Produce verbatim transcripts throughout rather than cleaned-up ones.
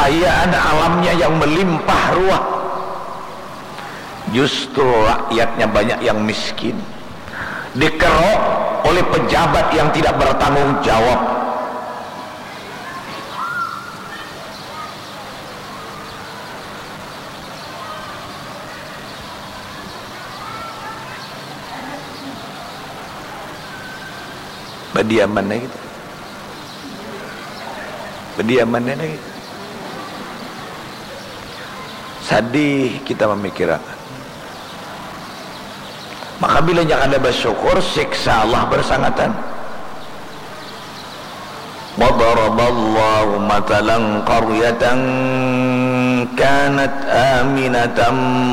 kekayaan alamnya yang melimpah ruah, justru rakyatnya banyak yang miskin, dikerok oleh pejabat yang tidak bertanggung jawab. Badiaman aja gitu. Badiaman aja gitu. Sadih kita memikirakan. Maka bilanya kada bersyukur, siksa Allah bersangatan. وضرب الله مثلا قرية كانت آمنة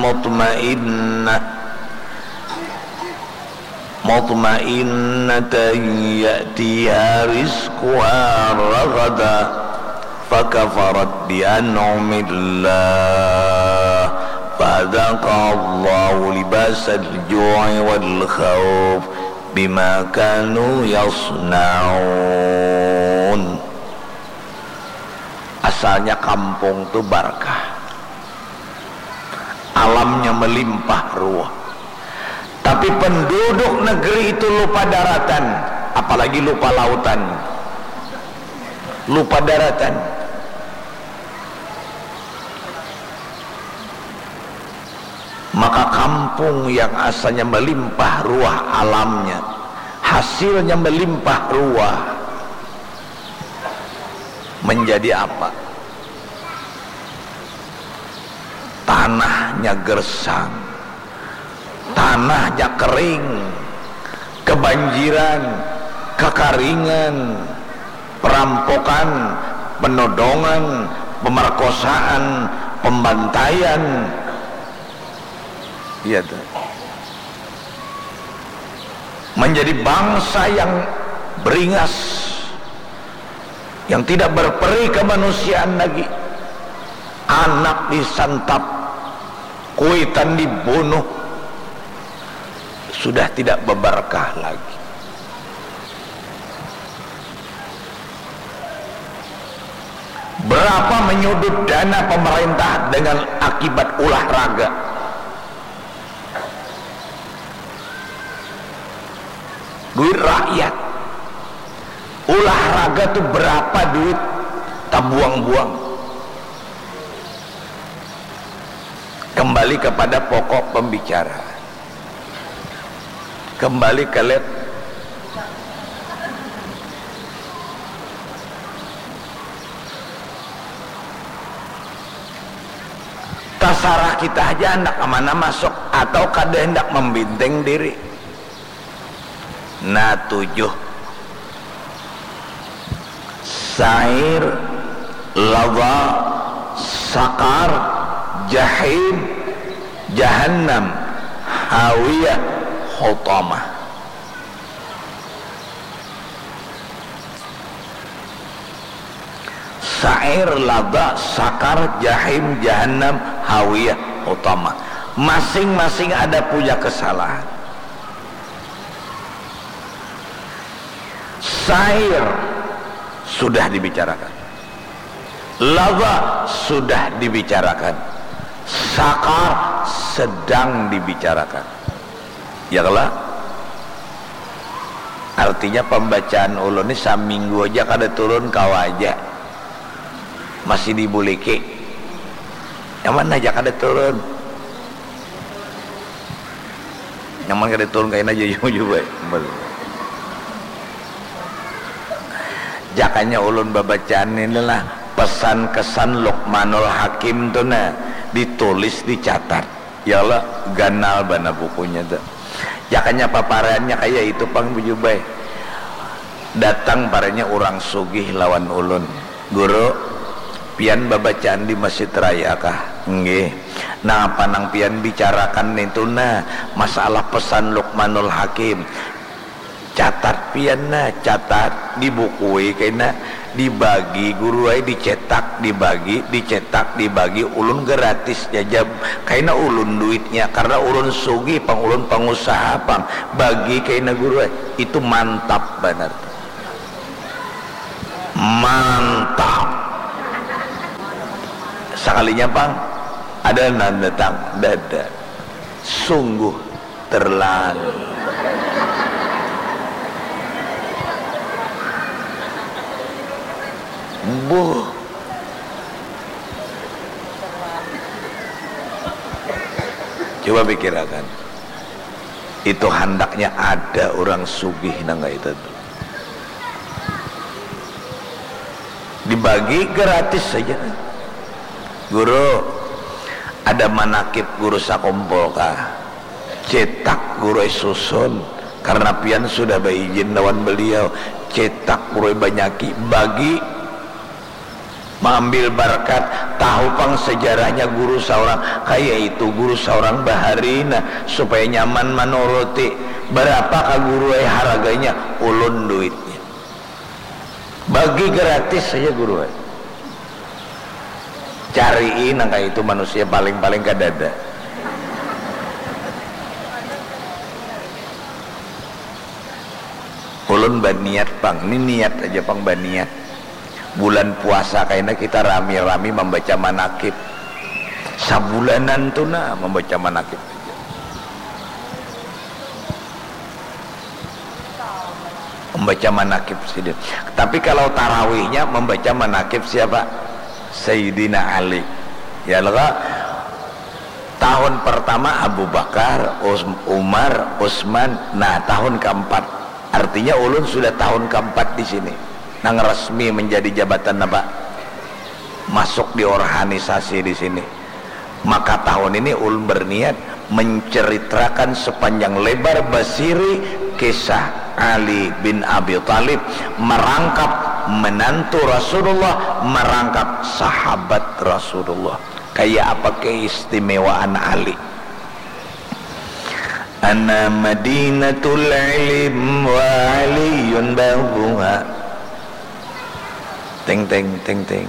مطمئنة مطمئنة يأتيها رزقها رغدا فكفرت بأنعم الله فأذاقها الله لباس الجوع والخوف بما كانوا يصنعون. Asalnya kampung tu barkah, alamnya melimpah ruah, tapi penduduk negeri itu lupa daratan, apalagi lupa lautan, lupa daratan. Maka kampung yang asalnya melimpah ruah alamnya, hasilnya melimpah ruah, menjadi apa? Tanahnya gersang, tanahnya kering, kebanjiran, kekaringan, perampokan, penodongan, pemerkosaan, pembantaian. Iya tuh. Menjadi bangsa yang beringas, yang tidak berperi kemanusiaan lagi. Anak disantap, kuitan dibunuh, sudah tidak beberkah lagi. Berapa menyudut dana pemerintah dengan akibat ulah raga? Duit rakyat. Ulah raga tu berapa duit tabuang-buang? Kembali kepada pokok pembicaraan. Kembali ke lab. Tasarah kita haja handak ke mana masuk atau kada handak membinteng diri. Nah, tujuh. Sa'ir, Ladha, Sakar, Jahim, Jahannam, Hawiyah, Hutamah. Sa'ir, Ladha, Sakar, Jahim, Jahannam, Hawiyah, Hutamah. Masing-masing ada punya kesalahan. Sa'ir sudah dibicarakan. Ladha sudah dibicarakan. Sakar sedang dibicarakan. Ya kalo? Artinya pembacaan ulun ni saminggu aja kada turun, kawa aja. Masih dibuliki. Nyaman aja kada turun. Nyaman kada turun, kaina aja jujur bae. Jakanya ulun babacaan ini lah, pesan kesan Luqmanul Hakim tu nah, ditulis, dicatat. Ya Allah, ganal banar bukunya tu. Jakanya paparannya kaya itu pang, bujur bae. Datang paranya urang sugih lawan ulun. Guru, pian babacaan di Masjid Raya kah? Nggih. Napa nang pian bicarakan nitu nah, masalah pesan Luqmanul Hakim? Catat pian nah, catat, dibukui kaina, dibagi guru ai, dicetak, dibagi, dicetak, dibagi, ulun gratis jajab, kaina ulun duitnya, karena ulun sugih pang, ulun pangusaha pang, bagi kaina guru ai, itu mantap banar. Mantap. Sakalinya pang ada nang datang, dada. Sungguh terlalu. Buh. Coba pikirakan. Itu handaknya ada orang sugih nang kaya itu. Dibagi gratis saja. Guru, ada manakib guru sakumpul kah? Cetak guru ai susun, karena pian sudah baizin lawan beliau. Cetak guru ai banyaki, bagi, maambil barkat, tahu pang sejarahnya guru saurang, kaya itu guru saurang bahari nah, supaya nyaman manuruti. Barapa kah guru ai haraganya? Ulun duitnya. Bagi gratis saja guru ai. Carii nang kaya itu manusia, paling-paling kadada. Ulun baniat pang, ni niat aja pang baniat. Bulan puasa kaina kita rami-rami mambaca manakib. Sabulanan tu nah mambaca manakib. Membaca manakib sidin. Tapi kalau tarawihnya membaca manakib siapa? Sayyidina Ali. Ya lo kah? Tahun pertama Abu Bakar, Us-, Umar, Utsman. Nah, tahun keempat. Artinya ulun sudah tahun keempat di sini. Nang resmi menjadi jabatan apa? Masuk di organisasi di sini. Maka tahun ini ulun berniat menceritakan sepanjang lebar basiri kisah Ali bin Abi Thalib merangkap menantu Rasulullah, merangkap sahabat Rasulullah. Kaya apa keistimewaan Ali? Ana madinatul ilim wa aliyun babuha. Teng teng teng teng.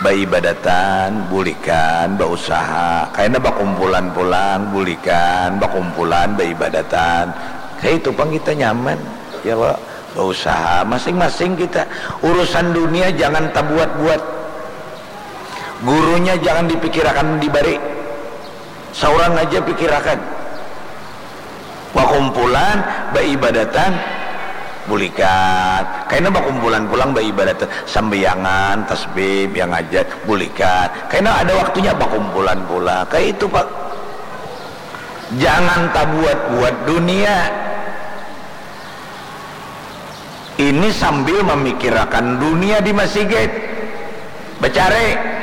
Baibadatan, bulikan, bausaha. Kaina bakumpulan pulang, bulikan, bakumpulan, baibadatan. Kaya itu pang kita nyaman, ya lo. Bausaha, masing-masing kita. Urusan dunia jangan tabuat-buat. Gurunya jangan dipikirakan dibari. Saurang aja pikirakan. Bakumpulan, baibadatan, bulikan. Kaina bakumpulan pulang baibadatan, sambayangan, tasbih, yang hajat, bulikan. Kaina ada waktunya bakumpulan pulang. Kaya itu, Pak. Jangan tabuat-buat dunia. Ini sambil mamikirakan dunia di masigit. Bacari.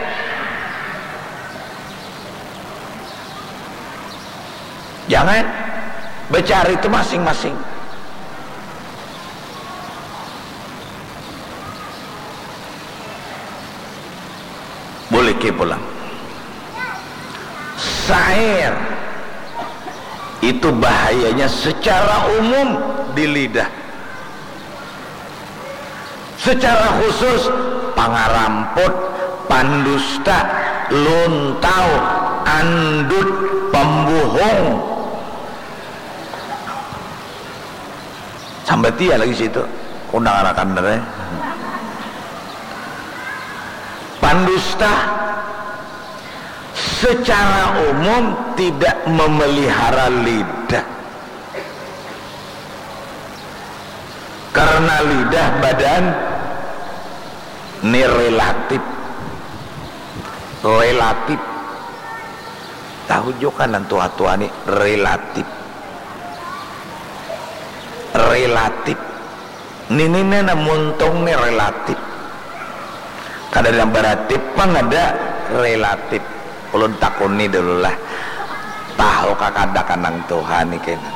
Jangan. Bacari tu masing-masing. Buliki pulang. Sair itu bahayanya secara umum di lidah. Secara khusus, pangaramput, pandusta, luntau, andut, pembuhung. Sambat iya lagi situ. Undang anakan deh. Pandusta secara umum tidak memelihara lidah. Karena lidah badan ni relatif. Relatif. Tahu juga nang tua-tua ni relatif. Relatif. Nini ni nah muntung ni relatif. Kada yang beratip pang ada relatif. Ulun takuni dulu lah. Tahu kakada kanang tuha ni kena.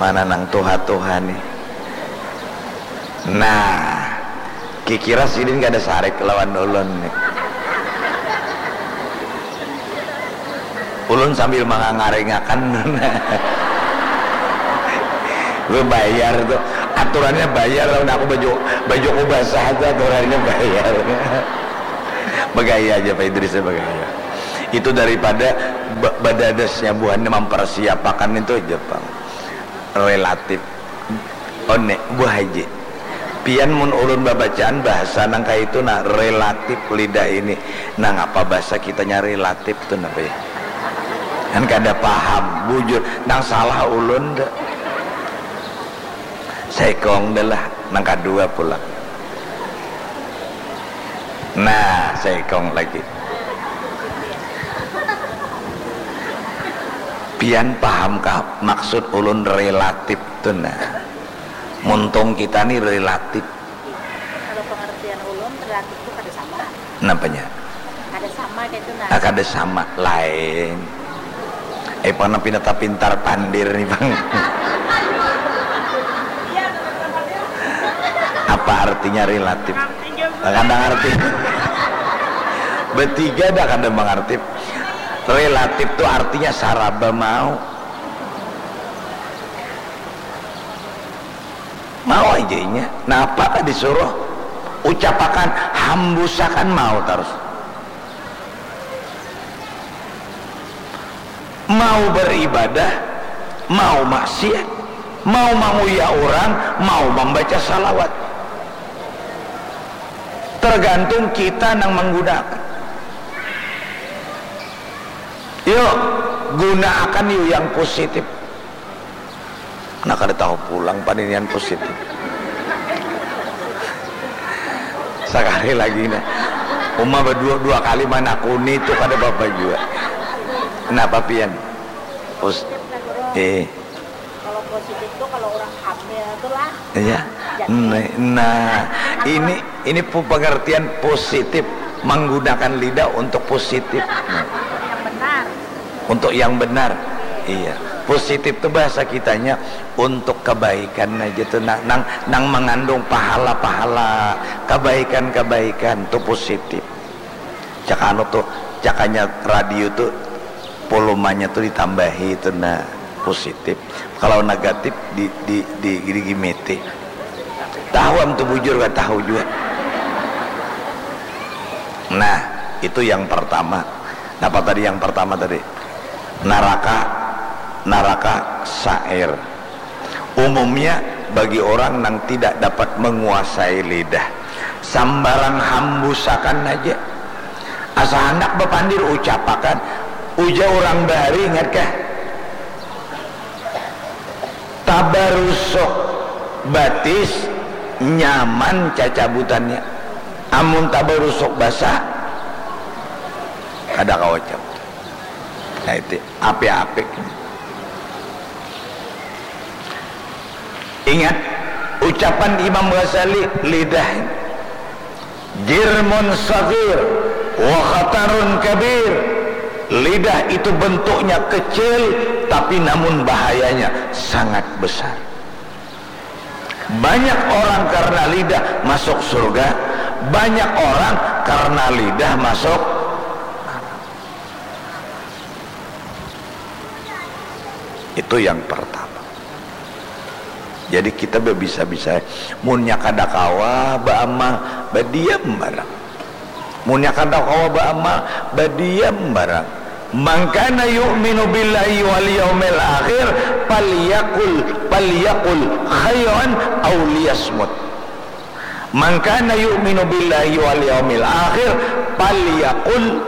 Mana nang tuha-tuha ni? Nah, kikira sidin kada sarik lawan ulun ni. Ulun sambil mangangaringakan. Bebayar tu. Aturannya bayar lawan aku baju, baju ku basah tu aturannya bayar. Bagaya aja Pak Idris ya, bagaya. Itu daripada badadasnya buhannya mempersiapakan itu aja pang. Relatif. One, Bu Haji. Pian mun ulun babacaan bahasa nang kaya itu nah, relatif lidah ini. Nang apa bahasa kitanya relatif tu napa ya? Kan kada paham, bujur. Nang salah ulun dah. Saikong dah lah, nang kadua pulang. Nah, saikong lagi. Pian pahamkah maksud ulun relatif tu nah? Muntung kita ni relatif. Kalau pengertian ulun, relatif tu kada sama. Napanya? Kada sama kaitu nah. Ah, kada sama, lain. Eh, pang pina tapintar pandir nih, Bang. Apa artinya relatif? Kada ngarti. Betiga dah kada mangarti. Relatif tu artinya saraba mau. Mau aja inya. Napa ka disuruh? Ucapakan, hambusakan, mau tarus. Mau beribadah, mau maksiat, mau manguya urang, mau mambaca salawat. Tergantung kita nang manggunakan. Yuk, gunaakan yuk yang positif. Nah, kada tahu pulang paninian positif. Sakali lagi nah. Uma badua dua kali manakuni tu kada bapa jua. Napa pian? Pos-, eh. Kalau positif tu kalau orang hamil tu lah. Iya. Nah, nah, ini, ini pu-, pengertian positif, menggunakan lidah untuk positif. Nah. Yang benar. Untuk yang benar. Iya. Positif tu bahasa kitanya untuk kebaikan aja tu, nang, nang, nang mengandung pahala-pahala, kebaikan-kebaikan tu positif. Cak anu tu, cakanya radio tu, volumenya tu ditambahi tu, nah, positif. Kalau negatif di, di, di, digimiti. Tahu am tu bujur, kada tahu jua. Nah, itu yang pertama. Napa tadi yang pertama tadi? Naraka, naraka sair. Umumnya bagi orang nang tidak dapat menguasai lidah, sambarang hambusakan aja. Asa handak bapandir, ucapakan. Ujar urang bahari, ingatkah? Tabarusuk batis nyaman cacabutannya. Amun tabarusuk basa, kada kawa cabut. Nah, itu apik-apik. Ingat ucapan Imam Ghazali, lidah ini. Jirmun saghir wa khatarun kabir. Lidah itu bentuknya kecil, tapi namun bahayanya sangat besar. Banyak orang karena lidah masuk surga, banyak orang karena lidah masuk. Itu yang pertama. Jadi kita babisa-bisa, munnya kada kawa baamal, badiam barang. Munnya kada kawa baamal, badiam barang. Man kana yu'minu billahi wal yaumil akhir, falyakul, falyakul khairan aw liyasmut. Man kana yu'minu billahi wal yaumil akhir, falyakul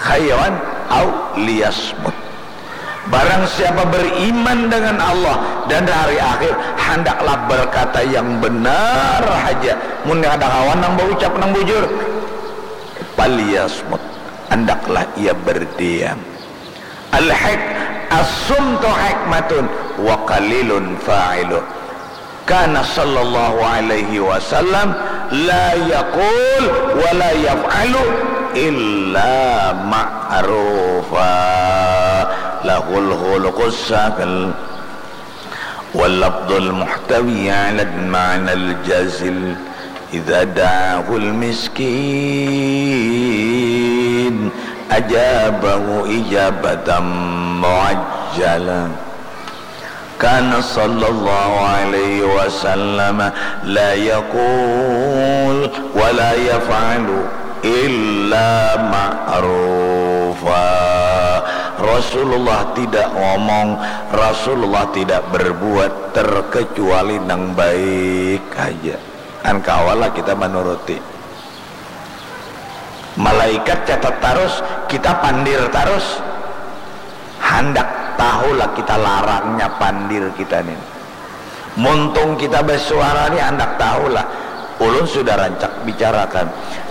khairan aw liyasmut. Barang siapa beriman dengan Allah dan hari akhir, handaklah berkata yang benar haja. Mun kada kawa nang baucap nang bujur, falyasmut, handaklah ia berdiam. Al-hik-, as-sumtu hikmatun wa qalilun fa'ilu. Kana sallallahu alaihi wasallam la yaqul wa la yaf'alu illa ma'rufa. Lahul khuluqus sahl wal lafdhul muhtawi ala ma'nal jazil. Idza da'ahul miskin ajabahu ijabatan muajjalah. Kana sallallahu alaihi wasallam la yaqul wa la yaf'alu illa ma'rufa. Rasulullah tidak ngomong, Rasulullah tidak berbuat terkecuali nang baik haja. Kan kawalah kita manuruti. Malaikat catat tarus, kita pandir tarus. Handak tahulah kita larangnya pandir kita nih. Muntung kita basuara ni handak tahulah. Ulun sudah rancak bicarakan.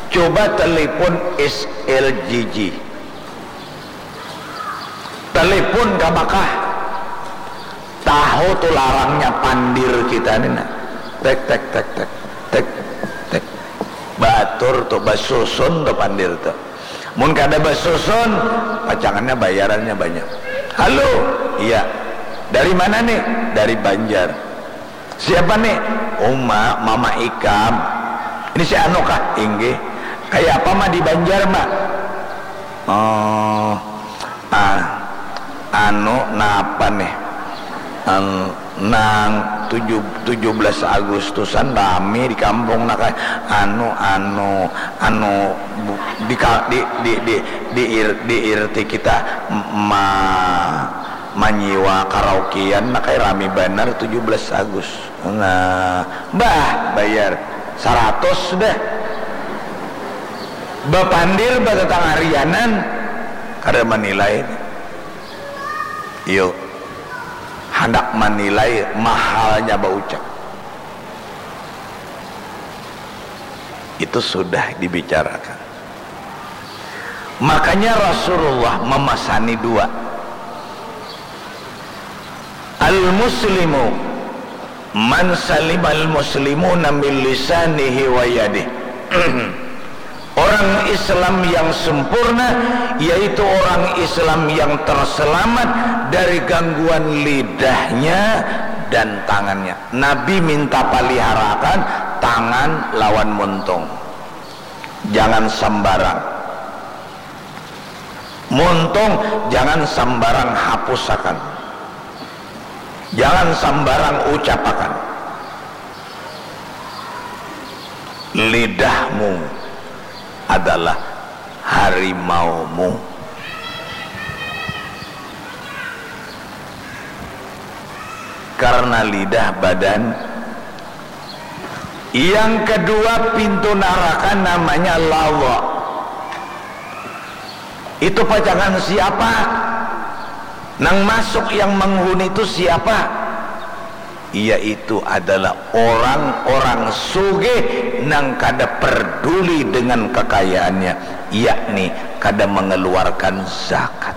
Coba telepon S L G G. Telepon ka Makkah. Tahu tu larangnya pandir kita ni nah. Tek, tek, tek, tek. Tek, tek. Batur tu, basusun tu pandir tu. Mun kada basusun, pacangannya bayarannya banyak. Halo, iya. Dari mana nih? Dari Banjar. Siapa nih? Uma, mama ikam. Ini si Anu kah? Inggih. Kayak apa mah di Banjar mah? Oh, ah, anu napa nih? Ang, nang tujuh, tujuh belas Agustusan rame di kampung nak, anu, anu, anu, bu-, di ka-, di, di, di, di ir-, di irti kita ma-, manyiwa karaokean nak, rame banar tujuh belas Agus. Nah, bah, bayar saratus sudah. Bapandir batatangarianan, kada manilai. Iyo, handak manilai mahalnya baucap. Itu sudah dibicarakan. Makanya Rasulullah memasani dua. Al-muslimu man salimal muslimuna min lisanihi wa yadih. Orang Islam yang sempurna yaitu orang Islam yang terselamat dari gangguan lidahnya dan tangannya. Nabi minta paliharakan tangan lawan muntung. Jangan sambarang. Muntung jangan sambarang hapusakan. Jangan sambarang ucapakan. Lidahmu adalah harimaumu. Karena lidah badan. Yang kedua, pintu naraka namanya lawa. Itu pacangan siapa? Nang masuk, yang menghuni itu siapa? Yaitu adalah orang-orang sugih nang kada perduli dengan kekayaannya, yakni kada mengeluarkan zakat.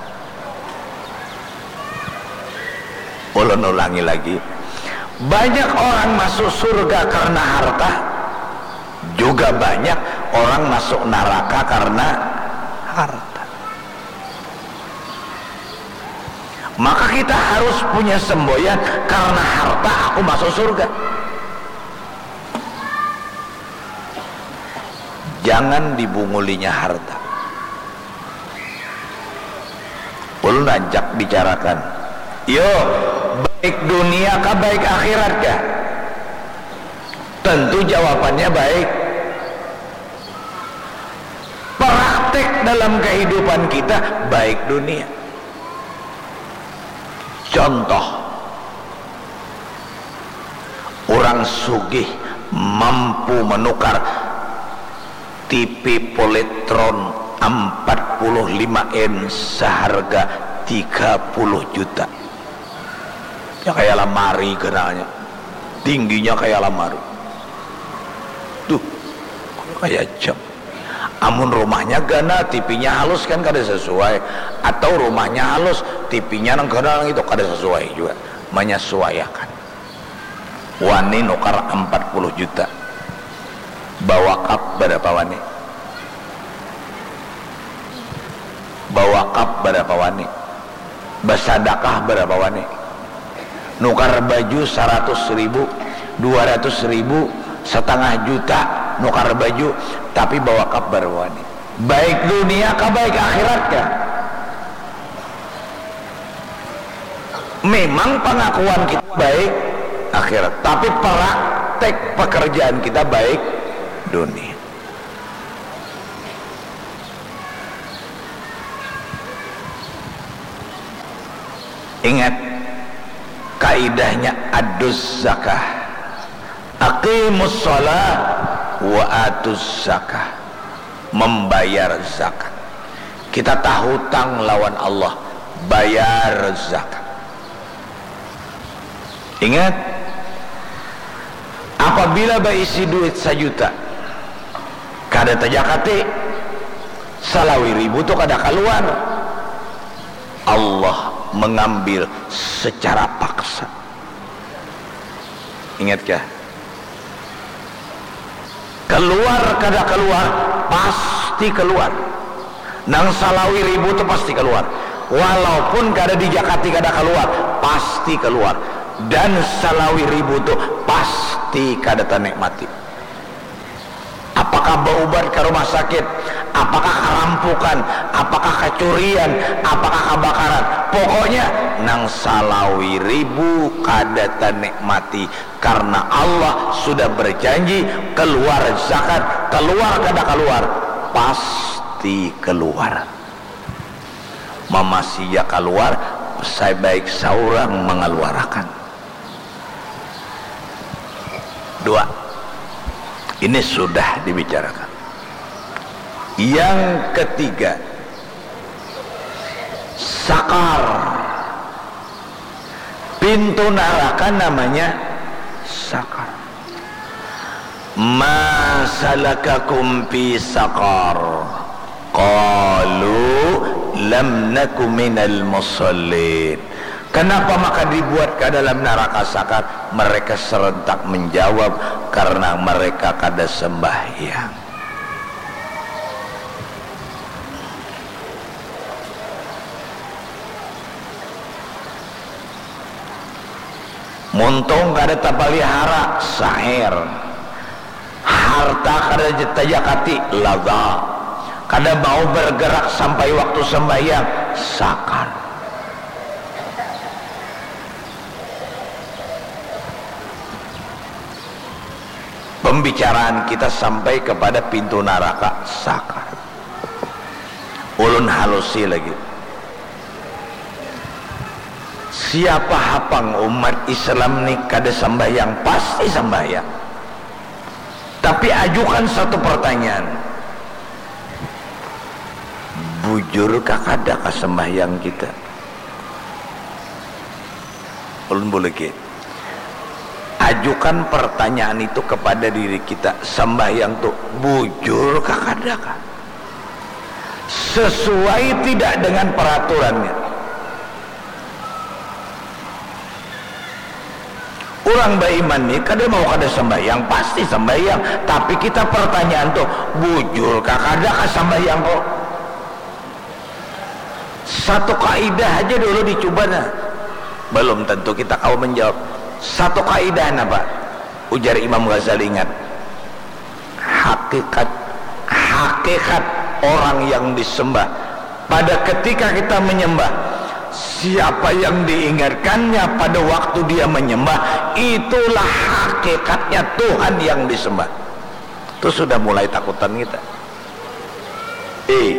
Ulun ulangi lagi, banyak orang masuk surga karena harta, juga banyak orang masuk naraka karena harta. Maka kita harus punya semboyan, karena harta aku masuk surga. Jangan dibungulinya harta. Ulun rancak bicarakan. Yo, baik dunia kah, baik akhirat kah? Tentu jawabannya baik. Praktek dalam kehidupan kita baik dunia. Contoh, orang sugih mampu menukar T V Polytron empat puluh lima in seharga tiga puluh juta. Ya, kayak lamari ganalnya. Tingginya kayak lamari. Tuh, kayak jam. Amun rumahnya ganal, T V-nya halus kan kada sesuai. Atau rumahnya halus, T V-nya nang ganal nang itu kada sesuai juga. Menyesuaiakan. Wani nukar empat puluh juta. Bawakap berapa wani? Bawakap berapa wani? Basadakah berapa wani? Nukar baju saratus ribu, dua ratus ribu, setengah juta nukar baju, tapi bawakap berapa wani? Baik dunia kah, baik akhirat kah? Memang pengakuan kita baik akhirat, tapi praktek pekerjaan kita baik dunia. Ingat, kaidahnya adus zakah. Aqimus shalah wa atuz zakah. Membayar zakat. Kita tahutang lawan Allah, bayar zakat. Ingat, apabila baisi duit sajuta, kada tajakati, salawi ribu tu kada kaluar. Allah mengambil secara paksa. Ingatkah? Keluar kada keluar, pasti keluar. Nang salawi ribu tu pasti keluar. Walaupun kada dijakati kada keluar, pasti keluar. Dan salawi ribu tu pasti kada tanikmati. Apakah baubat ka rumah sakit, apakah karampukan, apakah kacurian, apakah kabakaran. Pokoknya nang salawi ribu kada tanikmati. Karna Allah sudah berjanji, keluar zakat, keluar kada kaluar, pasti keluar. Mama sia kaluar, sabaik saurang mangaluarakan. Dua. Ini sudah dibicarakan. Yang ketiga, sakar. Pintu naraka namanya sakar. Ma salakakum fi sakar? Qalu lam naku minal musallin. Kenapa maka dibuat ke dalam naraka sakar? Mereka serentak menjawab, karena mereka kada sembahyang. Muntung kada tapalihara, sair. Harta kada tajakati, laga. Kada mau bergerak sampai waktu sembahyang, sakar. Pembicaraan kita sampai kepada pintu naraka, sakar. Ulun halusi lagi. Siapa hapang umat Islam ni kada sambahyang? Pasti sambahyang. Tapi ajukan satu pertanyaan. Bujur kah kada kah sambahyang kita? Ulun buligi. Ajukan pertanyaan itu kepada diri kita, sambahyang tu bujur kah kada kah? Sesuai tidak dengan peraturannya? Urang baiman ni kada mau kada sambahyang, pasti sambahyang. Tapi kita pertanyaan tu, bujur kah kada kah sambahyang ko? Satu kaidah haja dulu dicuba nah. Belum tentu kita kawa menjawab. Satu kaidah napa? Ujar Imam Ghazali, ingat. Hakikat, hakikat orang yang disembah. Pada ketika kita menyembah, siapa yang diingatkannya pada waktu dia menyembah, itulah hakikatnya Tuhan yang disembah. Itu sudah mulai takutan kita. Eh,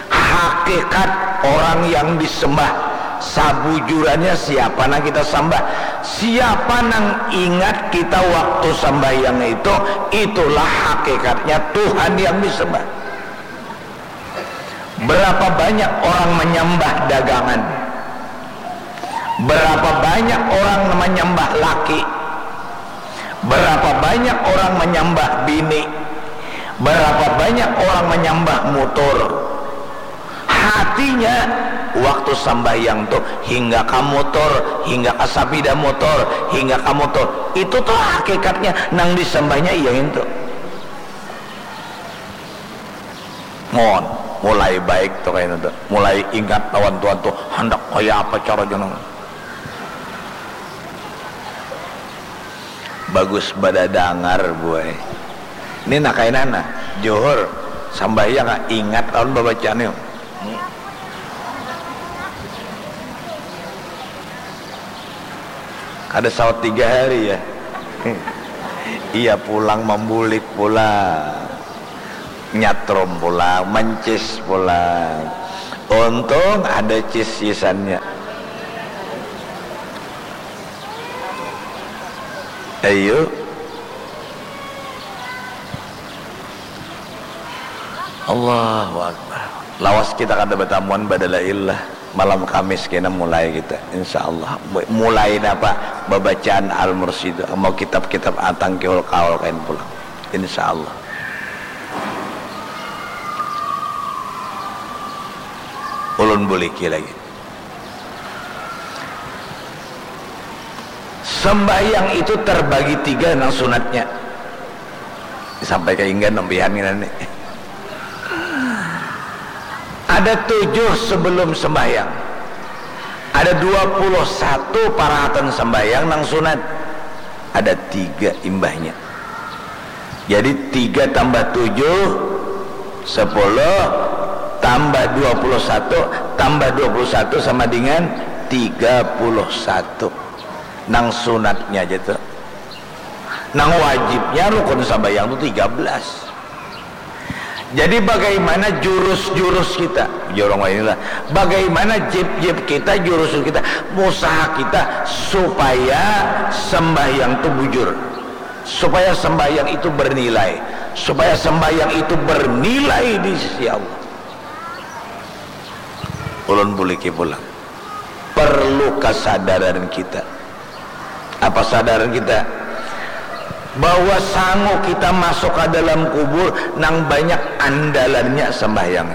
hakikat orang yang disembah, sabujurannya siapa nang kita sembah? Siapa nang ingat kita waktu sambahyang itu, itulah hakikatnya Tuhan yang disembah. Berapa banyak orang menyembah dagangan? Berapa banyak orang menyembah laki? Berapa banyak orang menyembah bini? Berapa banyak orang menyembah motor? Hatinya waktu sambahyang tu hingga ka motor, hingga ka sapida motor, hingga ka motor. Itu tuh hakikatnya nang disembahnya iya itu. Mon, mulai baik tuh kayaknya tuh. Mulai ingat lawan Tuhan tuh, handak kaya apa cara jeneng. Bagus badadangar, buai. Ini nak kainana, Johor, sambahyang ah, ingat lawan babacaan yuk. Kada saut tiga hari ya. Iya pulang mambulik pulang. Nyatrum pulang, mancis pulang. Untung ada cis-cisannya. Ayo. Allahu Akbar. Lawas kita kada batamuan badalaillah. Malam Kamis kena mulai kita, insya Allah. Mulai napa? Babacaan Al-Mursyid. Mau kitab-kitab Atangkihul Kaul kain pulang. Insya Allah. Ulun buliki lagi. Sembahyang itu terbagi tiga nang sunatnya. Sampai ke inggan nempihan ini. Ada tujuh sebelum sembahyang. Ada dua puluh satu parahatan sembahyang nang sunat. Ada tiga imbahnya. Jadi tiga tambah tujuh, sepuluh, tambah dua puluh satu, tambah dua puluh satu sama dengan tiga puluh satu. Nang sunatnya aja tuh. Nang wajibnya rukun sambayang tuh tiga belas. Jadi bagaimana jurus-jurus kita, jorong inilah, bagaimana jip-jip kita, jurus kita, usaha kita supaya sembahyang itu bujur, supaya sembahyang itu bernilai, supaya sembahyang itu bernilai di sisi Allah. Ulun buliki pulang. Perlu kesadaran kita. Apa sadaran kita? Bahwa sangu kita masuk ke dalam kubur nang banyak andalannya sembahyang.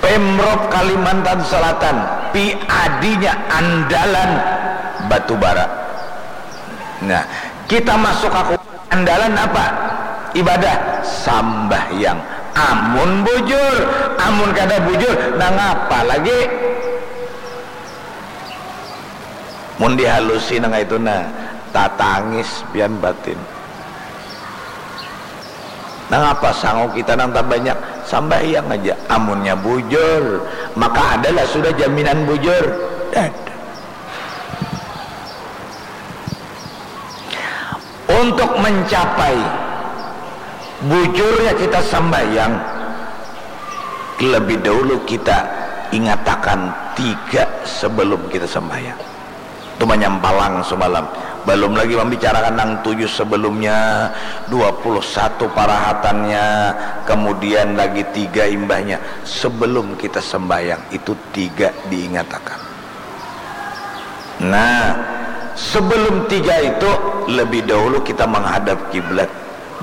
Pemprov Kalimantan Selatan, P A D-nya andalan batu bara. Nah, kita masuk ke kubur, andalan apa? Ibadah, sambahyang. Amun bujur, amun kada bujur, nangapa lagi? Mun dihalusi nang itu nah, tatangis pian batin. Nangapa sangu kita nang tabanyak? Sambahyang aja. Amunnya bujur, maka adalah sudah jaminan bujur. Dada. Untuk mencapai bujurnya kita sambahyang, lebih dahulu kita ingatakan tiga sebelum kita sambahyang. Itu manyampalang semalam. Belum lagi membicarakan nang tujuh sebelumnya, dua puluh satu parahatannya, kemudian lagi tiga imbahnya. Sebelum kita sembahyang, itu tiga diingatakan. Nah, sebelum tiga itu, lebih dahulu kita menghadap kiblat,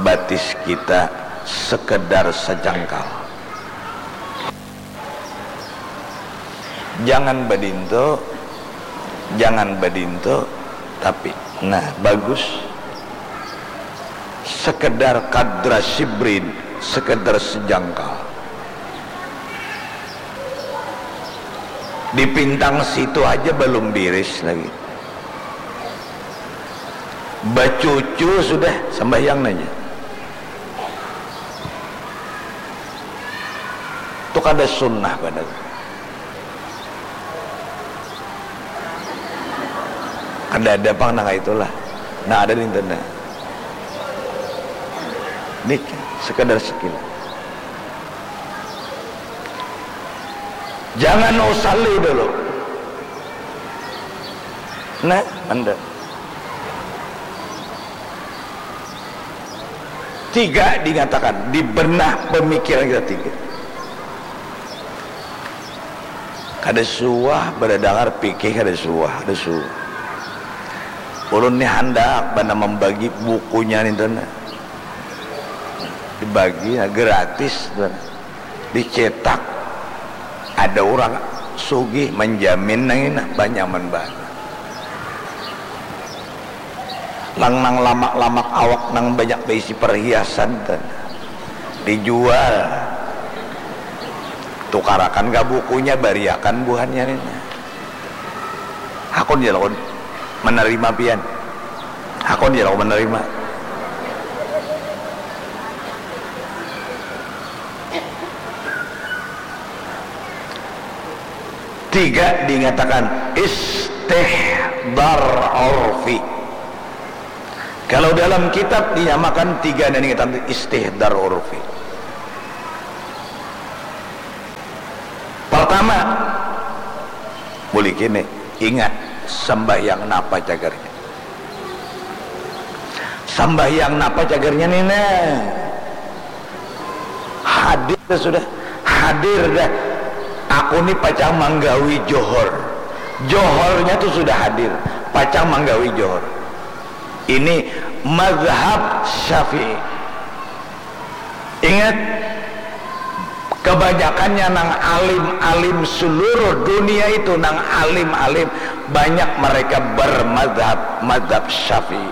batis kita sekedar sejengkal. Jangan badinto, jangan badinto, tapi, nah, bagus. Sekedar kadra sibrin, sekedar sejengkal. Di pintang situ aja belum biris lagi. Bacucu sudah sambahyang nanya. Itu kada sunnah banar. Kada ada pang nang itulah. Nah, ada di internet. Nih, sekedar sekilas. Jangan usalli dulu. Nah, anda. Tiga dinyatakan, di benah pemikiran kita tiga. Kada suah badadangar pikih, kada suah, kada suah. Ulun ni handak bana membagi bukunya ni tuh nah. Dibagi, nah, gratis tuh nah. Dicetak. Ada urang sugih manjamin nang ini, banyaman banar. Lang nang lamak-lamak awak nang banyak baisi perhiasan tuh. Dijual. Tukarakan ka bukunya, bariakan buhannya ni. Hakun ja lakun manarima pian. Hakun ja lakun manarima. Tiga dinyatakan istihdar urfi. Kalau dalam kitab dinyamakan tiga dinyatakan istihdar urfi. Pertama, buliki ni, ingat, Sambahyang napa cagarnya? Sambahyang napa cagarnya ni nah? Hadir dah sudah. Hadir dah. Aku ni pacang manggawi johor. Johornya tu sudah hadir. Pacang manggawi johor. Ini mazhab Syafi'i. Ingat, kebanyakannya nang alim-alim seluruh dunia itu, nang alim-alim, banyak mereka bermazhab, mazhab Syafi'i.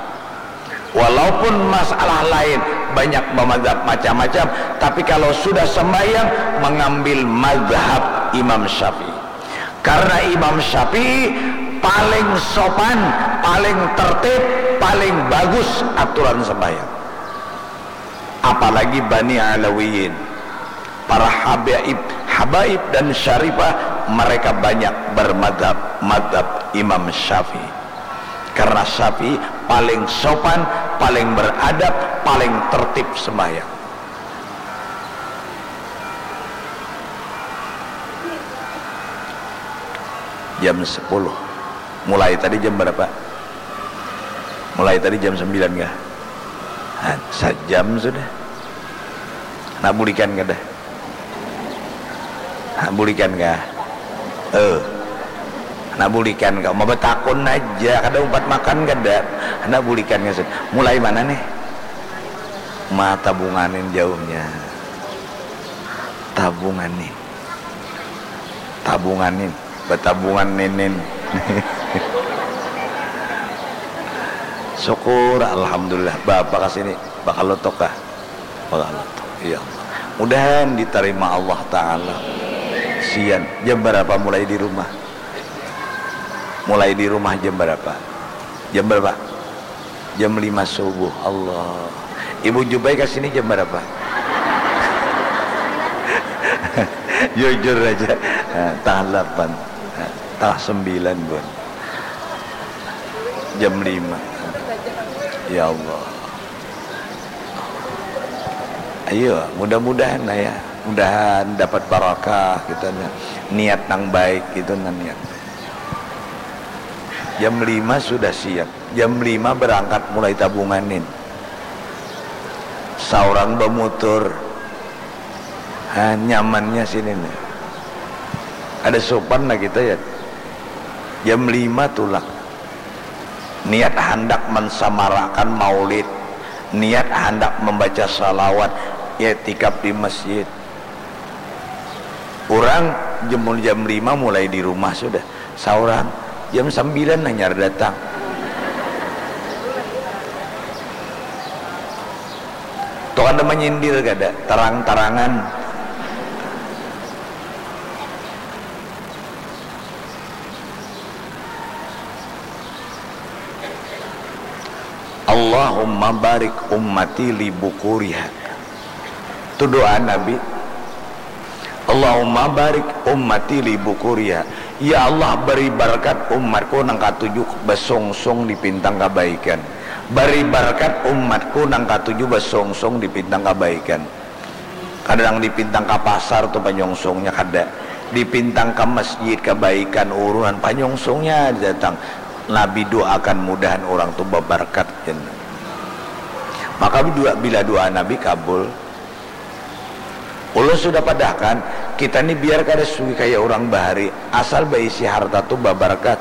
Walaupun masalah lain banyak bermazhab macam-macam, tapi kalau sudah sembahyang, mengambil mazhab Imam Syafi'i. Karena Imam Syafi'i paling sopan, paling tertib, paling bagus aturan sembahyang. Apalagi Bani Alawiyin, para habaib, habaib dan syarifah, mereka banyak bermadhab, madhab Imam Syafi'i. Karena Syafi'i paling sopan, paling beradab, paling tertib sembahyang. Jam sepuluh. Mulai tadi jam berapa? Mulai tadi jam sembilan kah? Nah, sajam sudah. Nak bulikan kada? Nak bulikan kah? Eh. Nak bulikan kah? Mau betakun aja, kada umpat makan kada? Nak bulikan kah sudah? Mulai mana nih? Ma tabunganin jauhnya. Tabunganin. Tabunganin. Batabungan ninin. Syukur, alhamdulillah. Bapak ka sini, bakal lotok kah? Bakal lotok. Ya Allah. Mudahan ditarima Allah Ta'ala. Sian. Jam berapa mulai di rumah? Mulai di rumah jam berapa? Jam berapa? Jam lima subuh. Allah. Ibu Jubai ka sini jam berapa? Jujur aja. Nah, tangah delapan. Nah, tangah sembilan pun. Jam lima. Ya Allah. Ayo, mudah-mudahan lah ya. Mudahan dapat barakah kita nya. Niat nang baik gitu nah niat. Jam lima sudah siap. Jam lima berangkat mulai tabunganin. Saurang bamutur. Ha, nyamannya sini nih. Ada sopan lah kita ya. Jam lima tulak. Niat handak mensamarakan maulid. Niat handak membaca salawat. Iktikaf di masjid. Urang jam, jam lima mulai di rumah sudah. Saurang jam sambilan hanyar datang. Tu kada manyindir kada, tarang-tarangan. Allahumma barik ummati li bukuriha. Tu doa Nabi. Allahumma barik ummati li bukuriha. Ya Allah, beri barakat umatku nang katuju basungsung di pintang kabaikan. Beri barakat umatku nang katuju basungsung di pintang kabaikan. Kada nang di pintang ka pasar tu panyungsungnya, kada. Di pintang ka masjid kabaikan urunan panyungsungnya datang. Nabi doakan mudahan urang tu babarakat, jar. Maka dua, bila doa Nabi kabul. Ulun sudah padahkan, kita ni biar kada sugih kaya urang bahari, asal baisi harta tu babarakat.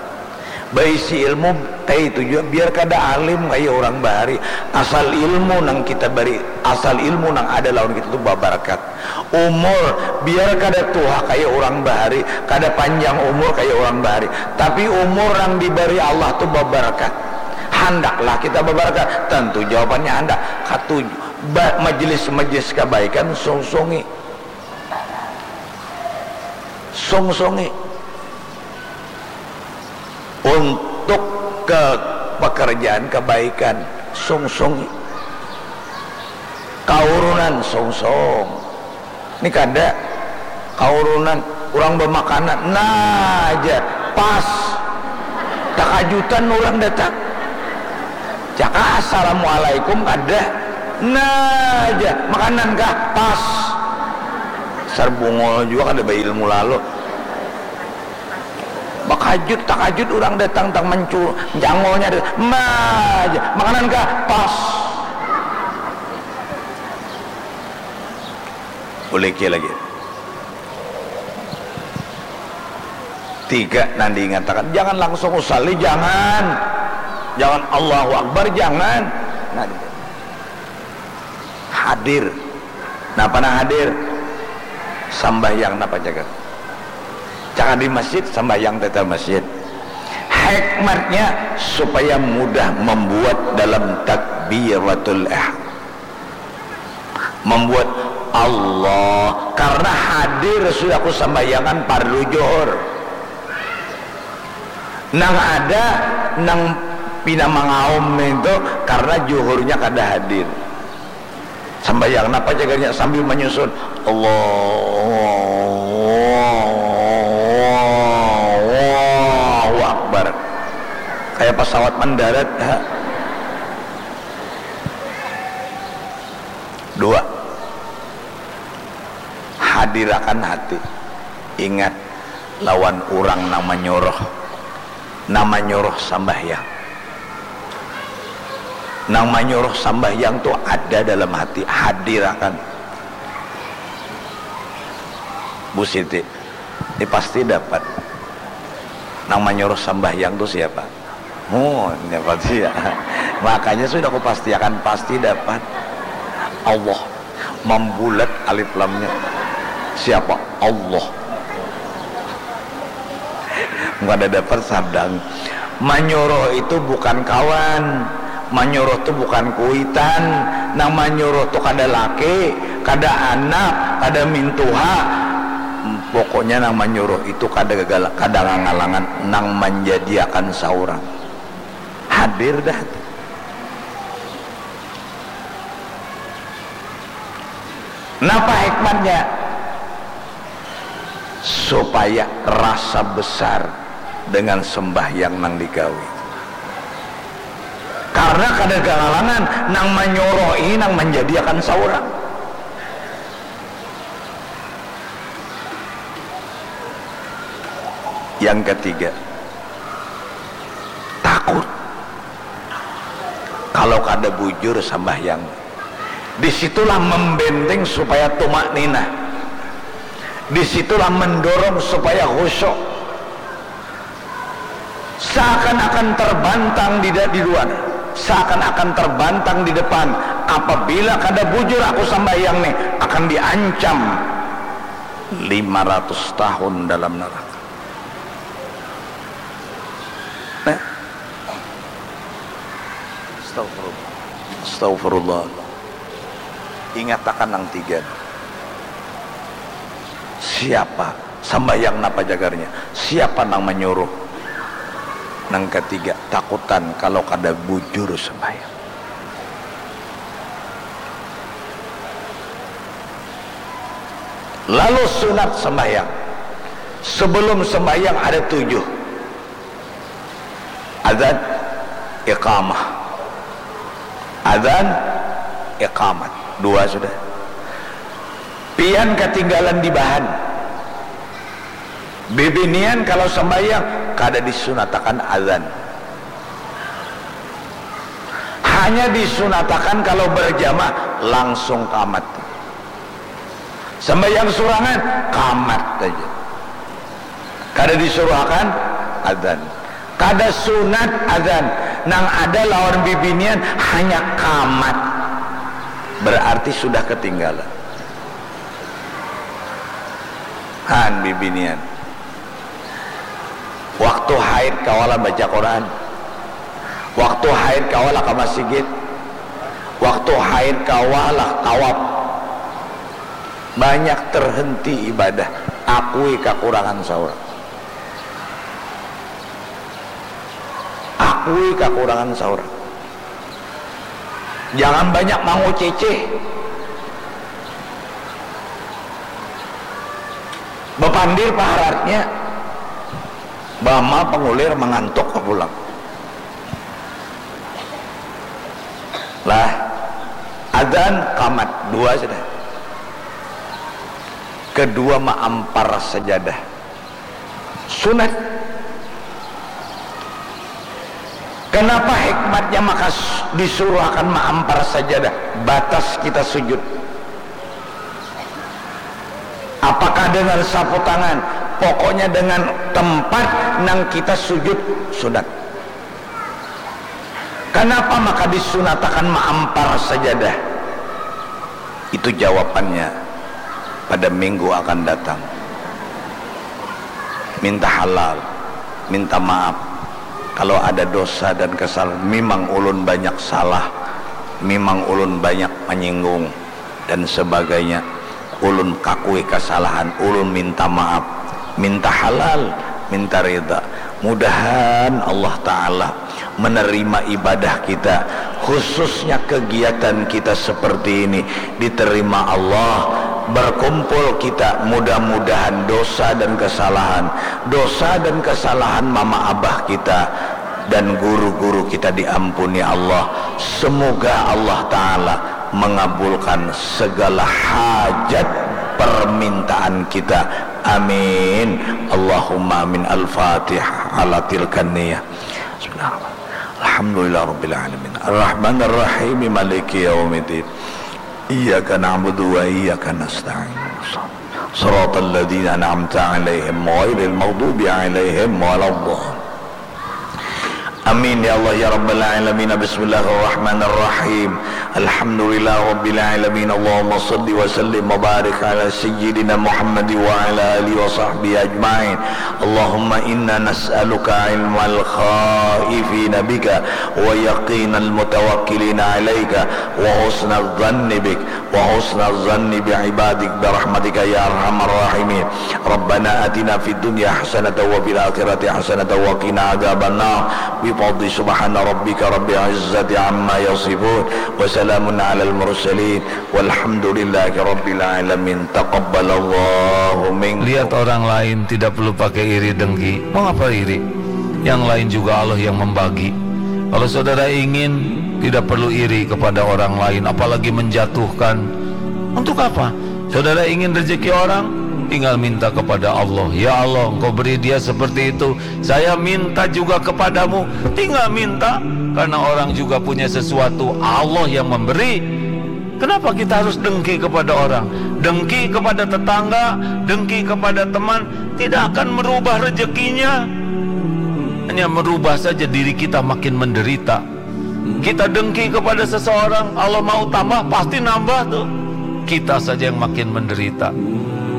Baisi ilmu kaya itu jua, biar kada alim kaya urang bahari, asal ilmu nang kita bari, asal ilmu nang ada lawan kita tu babarakat. Umur, biar kada tuha kaya urang bahari, kada panjang umur kaya urang bahari, tapi umur nang dibari Allah tu babarakat. Handaklah kita babarakat? Tentu jawabannya handak. Katuju. Ba-, majelis-majelis kabaikan sungsungi. Sungsungi. Untuk ke pekerjaan kebaikan, sungsung. Kaurunan, sungsung. Ni kada. Kaurunan, urang bamakanan. Nah aja, pas. Takajutan urang datang. Caka, "Assalamualaikum," kada. Nah aja, "Makanan kah?" Pas. Sarbungul jua kada bailmu lalu. Bakajut, takajut urang datang tang mancu-, jangolnya ada, "Ma aja, makanan kah?" "Pas." Uliki lagi. Tiga nang diingatakan, jangan langsung usalli, jangan. Jangan Allahu Akbar, jangan. Nah, hadir. Napa nang hadir? Sambahyang napa jaga? Cakap di masjid, sambahyang tetel masjid. Hikmatnya supaya mudah membuat dalam takbiratul ihram. Membuat Allah, karena hadir sudah kusambahyangan fardu johor. Nang ada, nang pina mangaum itu karena johornya kada hadir. Sambahyang napa jagarnya sambil menyusun, Allahu Akbar. Kayak pesawat mendarat. Ha. Dua, hadirakan hati. Ingat, lawan urang nang manyuruh, nang manyuruh sambahyang. Nang manyuruh sambahyang tu ada dalam hati, hadirakan. Bu Siti, ini pasti dapat. Nang manyuruh sambahyang tu siapa? Oh, dapat sih ya. Makanya sudah kupastiakan pasti dapat. Allah. Mambulat alif lamnya. Siapa? Allah. Kada dapat sadang. Manyuruh itu bukan kawan. Manyuruh tu bukan kuitan. Nang manyuruh tu kada laki, kada anak, kada mintuha. Pokoknya nang manyuruh itu kada gagal, kada ngangalangan, nang manjadiakan saurang. Hadir dah. Napa hikmatnya? Supaya rasa besar dengan sembahyang nang digawi. Karena kada gangalangan nang manyuruh ini nang manjadiakan saurang. Yang ketiga, takut kalau kada bujur sambahyang. Di situlah membenteng supaya tumak ninah. Di situlah mendorong supaya khusyuk. Seakan-akan terbantang di, di luar, seakan-akan terbantang di depan. Apabila kada bujur aku sambahyang nih, akan diancam lima ratus tahun dalam neraka. Nah. Astagfirullah. Astagfirullah. Ingatakan nang tiga. Siapa? Sambahyang napa jagarnya? Siapa nang manyuruh? Nang katiga, takutan kalau kada bujur sambahyang. Lalu sunat sambahyang. Sebelum sambahyang ada tujuh. Adzan, iqamah. Adzan, iqamat. Dua sudah. Pian katinggalan di bahan. Bibinian kalau sambahyang kada disunatakan adzan. Hanya disunatakan kalau berjamaah langsung qamat. Sambahyang surangan, qamat aja. Kada disuruhakan adzan. Kada sunat adzan. Nang ada lawan bibinian hanya qamat. Berarti sudah ketinggalan. Han bibinian. Waktu haid kawalah baca Quran. Waktu haid kawalah ka masjid. Waktu haid kawalah tawaf. Banyak terhenti ibadah. Akui kakurangan saurang. Akui kakurangan saurang. Jangan banyak mangucicih. Bapandir paharatnya. Bama pangulir mangantuk ka pulang. Lah, adzan qamat, dua sudah. Kedua maampar sajadah. Sunat. Kenapa hikmatnya maka disuruh akan maampar sajadah batas kita sujud? Apakah dengan sapu tangan? Pokoknya dengan tempat nang kita sujud sunat. Kenapa maka disunatakan maampar sajadah? Itu jawabannya pada minggu akan datang. Minta halal, minta maaf. Kalau ada dosa dan kesalahan, memang ulun banyak salah, memang ulun banyak menyinggung dan sebagainya. Ulun kakui kesalahan, ulun minta maaf, minta halal, minta rida. Mudahan Allah Ta'ala menerima ibadah kita, khususnya kegiatan kita seperti ini diterima Allah. Berkumpul kita, mudah-mudahan dosa dan kesalahan, dosa dan kesalahan mama abah kita dan guru-guru kita diampuni Allah. Semoga Allah Ta'ala mengabulkan segala hajat permintaan kita. Amin. Allahumma amin. Al-Fatihah ala tilkan niyah. Bismillahirrahmanirrahim. Alhamdulillah Rabbil Alamin. Ar-Rahmanir Rahim. Maliki yaumiddin. Iyyaka na'budu wa iyyaka nasta'in. Siratal ladzina an'amta 'alaihim ghairil maghdubi 'alaihim waladdallin. Amin ya Allah ya Rabbal Alamin. Bismillahirrahmanirrahim. Alhamdulillah Rabbil Alamin. Allahumma salli wa sallim wa barik ala Sayyidina Muhammad wa ala alihi wa sahbihi ajma'in. Allahumma inna nas'aluka ilmal khaifina bika wa yaqinal mutawakkilina alaika wa husnal dhanni bik wa husnal dhanni bi ibadik bi rahmatika ya arhamar rahimin. Rabbana atina fid dunya hasanatan wa fil akhirati hasanatan wa qina adzabannar. Bi fadli subhana rabbika rabbil izzati amma yasifun. Wa salamun alal mursalin. Walhamdulillahi rabbil alamin. Taqabbalallahu minkum. Lihat orang lain tidak perlu pakai iri dengki. Mau apa iri? Yang lain juga Allah yang membagi. Kalau saudara ingin, tidak perlu iri kepada orang lain, apalagi menjatuhkan. Untuk apa? Saudara ingin rezeki orang, tinggal minta kepada Allah. Ya Allah, Engkau beri dia seperti itu. Saya minta juga kepadamu. Tinggal minta, karena orang juga punya sesuatu. Allah yang memberi. Kenapa kita harus dengki kepada orang? Dengki kepada tetangga, dengki kepada teman, tidak akan merubah rezekinya. Hanya merubah saja diri kita makin menderita. Kita dengki kepada seseorang, Allah mau tambah, pasti nambah tuh. Kita saja yang makin menderita.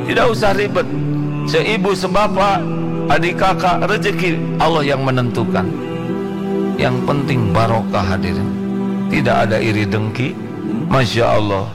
Tidak usah ribet. Seibu, sebapak, adik kakak, rezeki Allah yang menentukan. Yang penting barokah, hadirin. Tidak ada iri dengki. Masya Allah.